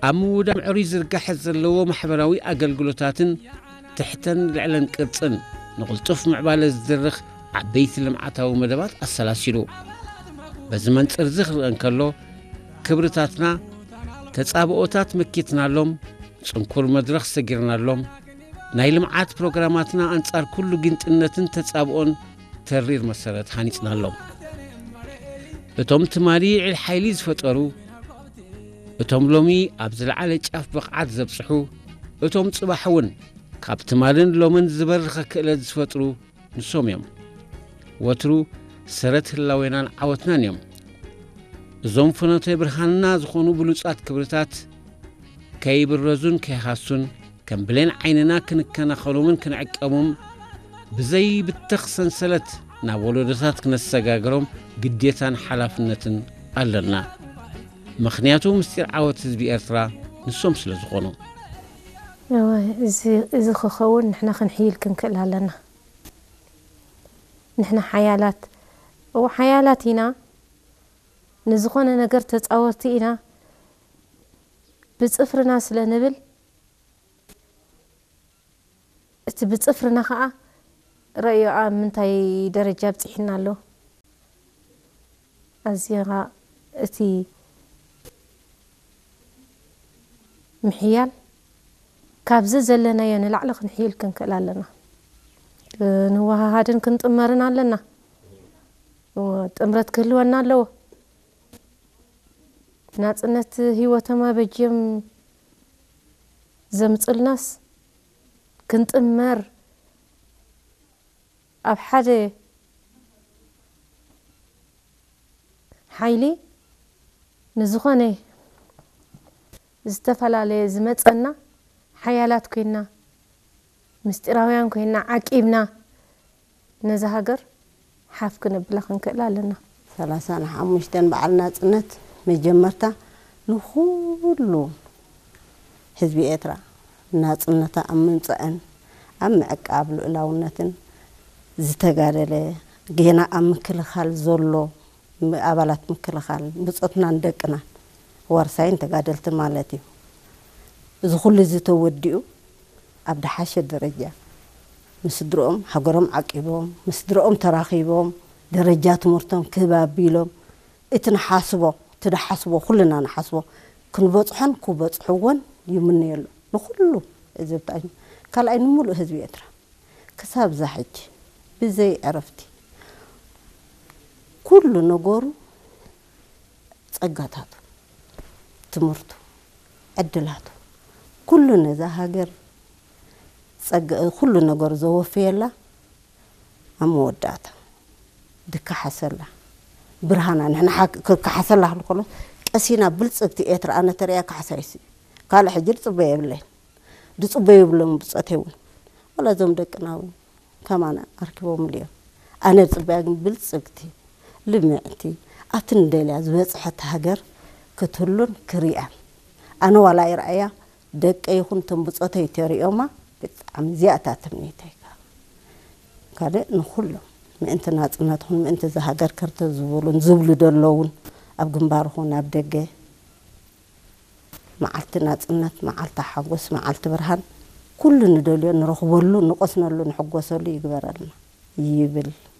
ኣብ ምውዳብ ምዕሩይ ዝርጋሐ ዘለዎ ማሕበራዊ ኣገልግሎታትን ትሕተን ልዕለን ቅርጽን ንቕልጡፍ ምዕባለ ዝድርኽ ዓበይቲ ልምዓታዊ መደባት ኣሰላሲሉ። በዚ መንጽር እዚ ክርአ እንከሎ፣ ክብርታትና ተጻብኦታት መኪትናሎም፣ ጽንኩር መድረኽ ሰጊርናሎም፣ ናይ ልምዓት ፕሮግራማትና ኣንጻር ኩሉ ጊንጥነትን ተጻብኦን ተሪር መሰረት ሃኒጽናሎም። እቶም ትማሊ ልዕል ሓይሊ ዝፈጠሩ፣ እቶም ሎሚ ኣብ ዝለዓለ ጫፍ ብቕዓት ዘብጽሑ፣ እቶም ጽባሕ እውን ካብ ትማልን ሎምን ዝበረኸ ክእለት ዝፈጥሩ ንሶም እዮም። ወትሩ ሰረት ህላዌናን ዓወትናን እዮም። እዞም ፍኖተ ብርሃንና ዝኾኑ ብሉጻት ክብርታት ከይብረዙን ከይሃሱን፣ ከም ብሌን ዓይንና ክንከናኸኖምን ክንዕቀቦም ብዘይብተኽ ሰንሰለት ናብ ወለዶታት ክነሰጋግሮም ግዴታን ሓላፍነትን ኣለና። ምኽንያቱ ምስጢር ዓወት ህዝቢ ኤርትራ ንሶም ስለ ዝኾኑ። እወ፣ እዚ እዚ ክኸውን ንሕና ክንሕይል ክንክእል ኣለና። ንሕና ሓያላት፣ እወ፣ ሓያላት ኢና፣ ንዝኾነ ነገር ተጻወርቲ ኢና። ብጽፍርና ስለ ንብል፣ እቲ ብጽፍርና ኸኣ ረእዮ ኣብ ምንታይ ደረጃ ኣብጺሕና ኣሎ። ኣዚኻ እቲ ምሕያል ካብዚ ዘለናዮ ንላዕሊ ክንሕይል ክንክእል ኣለና። ክንወሃሃድን ክንጥመርን ኣለና። ጥምረት ክህልወና ኣለዎ። ናጽነት ህይወቶም ኣበጅዮም ዘምጹልናስ ክንጥመር ኣብ ሓደ ሓይሊ ንዝኾነ ዝተፈላለየ ዝመጸና ሓያላት ኮይና ምስጢራውያን ኮይና ዓቂብና ነዛ ሃገር ሓፍ ክነብላ ክንክእል ኣለና። ሰላሳን ሓሙሽተን በዓል ናጽነት መጀመርታ ንኹሉ ህዝቢ ኤርትራ ናጽነታ ኣብ ምምጻእን ኣብ ምዕቃብ ልኡላውነትን ዝተጋደለ፣ ጌና ኣብ ምክልኻል ዘሎ ኣባላት ምክልኻል ብጾትናን ደቅናን ዋርሳይን ተጋደልትን ማለት እዩ። እዚ ኩሉ እዚ ተወዲኡ ኣብ ደሓሸ ደረጃ ምስ ስድርኦም ሃገሮም ዓቂቦም ምስ ስድርኦም ተራኺቦም ደረጃ ትምህርቶም ክብ ኣቢሎም እቲ ንሓስቦ እቲ ደሓስቦ ኩልና ንሓስቦ ክንበጽሖን ክበጽሕዎን ይምነየሉ ንኹሉ ህዝቢ ካልኣይ ንምሉእ ህዝቢ ኤርትራ። ክሳብ እዛ ሕጂ ብዘይ ዕረፍቲ ኩሉ ነገሩ ጸጋታቱ፣ ትምህርቱ፣ ዕድላቱ፣ ኩሉ ነዛ ሃገር ኩሉ ነገሩ ዘወፈየላ ኣብ መወዳእታ ድከሓሰላ ብርሃና ንሕና ክከሓሰላ ክልከሎ ቀሲና ብልጽግቲ ኤርትራ ኣነ ተሪያ ካሕሳይሲ ካልእ ሕጂ ድጽበ የብለይን። ድጽበዩ ብሎም ብጾተይ እውን ዋላ እዞም ደቅና እውን ከማና ኣርኪቦምሉ እዮም። ኣነ ዝጽበያ ግን ብልጽግቲ ልምዕቲ ኣብቲ ንደልያ ዝበጽሐት ሃገር ክትህሉን ክሪኣን ኣነ ዋላ ይርኣያ ደቀ ይኹን እቶም ብጾተይ ተሪኦማ ብጣዕሚ እዚኣ እታ ትምኒተይ ካልእ ንኹሎም ምእንቲ ናጽነትኹን ምእንቲ እዛ ሃገር ከርተ ዝብሉን ዝብሉ ዘለውን ኣብ ግንባርኹን ኣብ ደገ መዓልቲ ናጽነት፣ መዓልቲ ሓጎስ፣ መዓልቲ ብርሃን ኩሉ ንደልዮ ንረኽበሉ፣ ንቆስነሉ፣ ንሕጎሰሉ ይግበረልና ይብል።